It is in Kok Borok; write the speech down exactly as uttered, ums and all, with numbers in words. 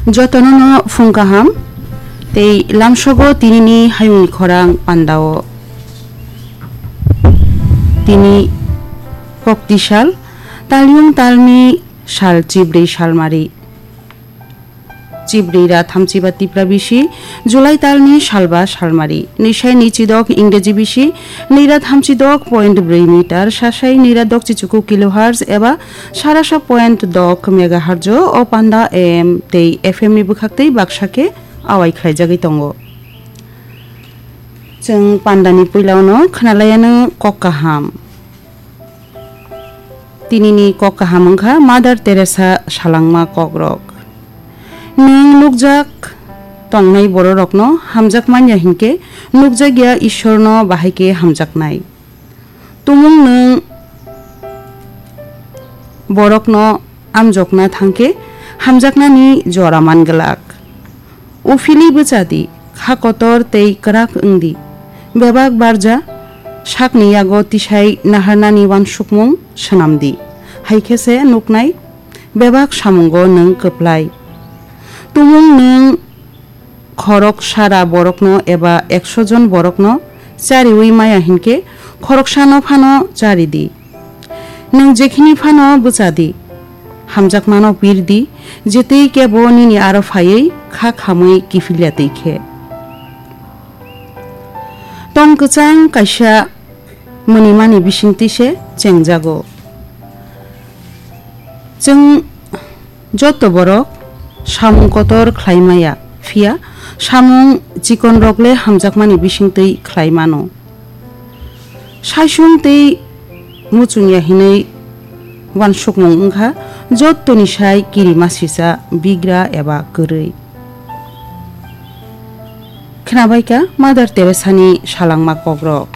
Jotono no phung kaham tei lamsogo tinini hayungni khorang pandao. Tini kokti sal, talyung talni sal chibrwi salmari. Chibrwi ra thamchiba tipra bisi, July talni salba salmari. Nwisai ni chidok Ingreji bisi, nwi ra thamchi dok point brwi meter, sasai nwi ra dok chichuku kilohertz eba sarasa point dok megahertz o panda A M tei F M ni bwkhak tei baksa khe awai khlaijagwi tongo. Chwng pandani puilano khwnalaiano kok kaham. Tinini kok kaham wngkha Mother Teresa salangma kokrok. Nwng nukjak tongnai bororokno hamjak manya hinkhe nukjakya Ishorno bahai khe hamjaknai. Tumung nwng borokno amjokna thangkhe hamjaknani jora man glak. Uphili bwcha di, kha kotor tei kwrak wng di. Bebak barja sakni yago tisai naharnani uansukmung swnam di. Hai khe se nuknai bebak samungo nwng kwplai. Tumung nwng khorok sara borokno eba ekso jon borokno chariwi maya hinkhe khoroksano phano chari di. Nwng jekhini phano bwcha di, hamjakmano pir di, je tei kebo nini aro phaiwi kha khamwi kiphilya twi khe. Tong kwchang kaisa mwnimani bisingtwi se chengjago. Chwng joto borok samung kotor khlai maya, phiya samung chikonrok le hamjakmani bisingtwi khlai mano. Saisung tei muchungya hinwi uansukmung wngkha jottoni sai kirimasisa, bigra eba kwrwi. Khnabaikha Mother Teresani salangma kokrok.